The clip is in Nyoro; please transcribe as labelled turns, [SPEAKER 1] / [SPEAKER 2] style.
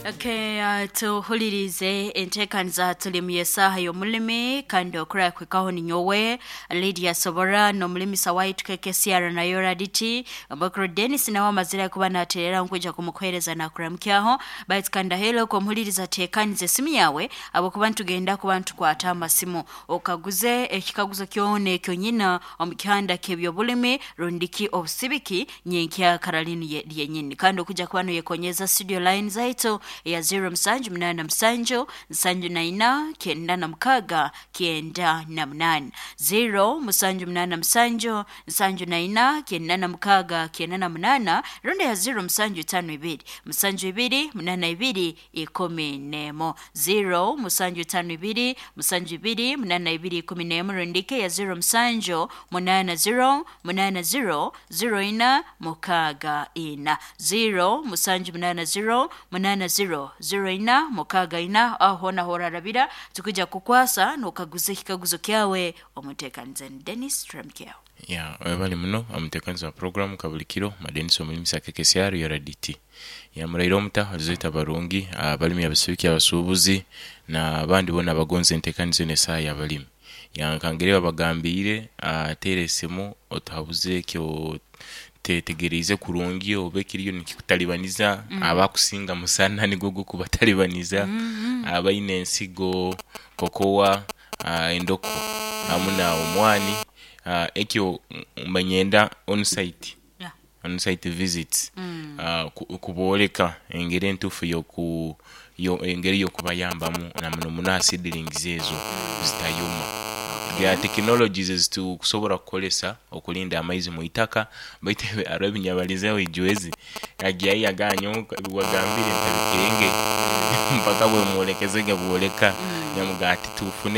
[SPEAKER 1] Okay, tuhulirize enteekaniza tulimu y'esaaha y'omulimi kandi okurakwikaho ninyowe Lydia Sobora n'omulimisa waitu KKCR nayo Raditi Mbakuru Dennis nawe amazire kuba naterera nkwija kumukuhereza nakuramukyaho. Baitu kandi ahelo kumuhuliriza, teekaniza esimu yawe ahabwokuba nitugenda kuba nitukwata amasimu okaguze ekikaguzo kyona ekyo nyina omu kihanda ky'ebyobulimi rundiki obusibiki nyenkya karalinu lyenyini, kandi okujja kuba noyekonyeza studio line zaitu eya 0787 74 96 98, 0787 74 96 98, rundi ya 0752 72 82 11, 0752 72 82 11, rundike ya 07 80 80 04 64, 0780 80 04 64. Aho naho orarabira tukija kukwasa nokaguza ekikaguzo kyawe omuteekanize. Dennis Tramkeo.
[SPEAKER 2] Ya, webale muno omuteekanizi wa program kabulikiro Madenisi omulimisa KKCR URDT. Ya, muraire omuta oruzoita barungi abalimi, abasibiki, abasuubuzi n'abandi boona abagonza enteekaniza enu esaaha y'abalimi. Ya, nkangere babagambiire, teera esimu otuhabuze ekyo tetegeriize kurungi oba ekiriyo nikikutalibaniza. Abakusinga musana nigwo gukubatalibaniza, abaine ensigo, kokowa, endokwa hamu na omwani. Ekyo mba ninyenda onsite, onsite visits, kubooleka engeri entuufu engeri y'okubayambamu na muno muno aha seedlings ezo zitayoma. Bya tekinologies ezitukusobola kukolesa okulinda amaizi mu itaka, baitu hariho ebinyabalizeho ijwezi agyayo yagamba nyowe ebiwagambire ntabikenge mpaka bwemwolekezege bwoleka nyamugamba ati tufune.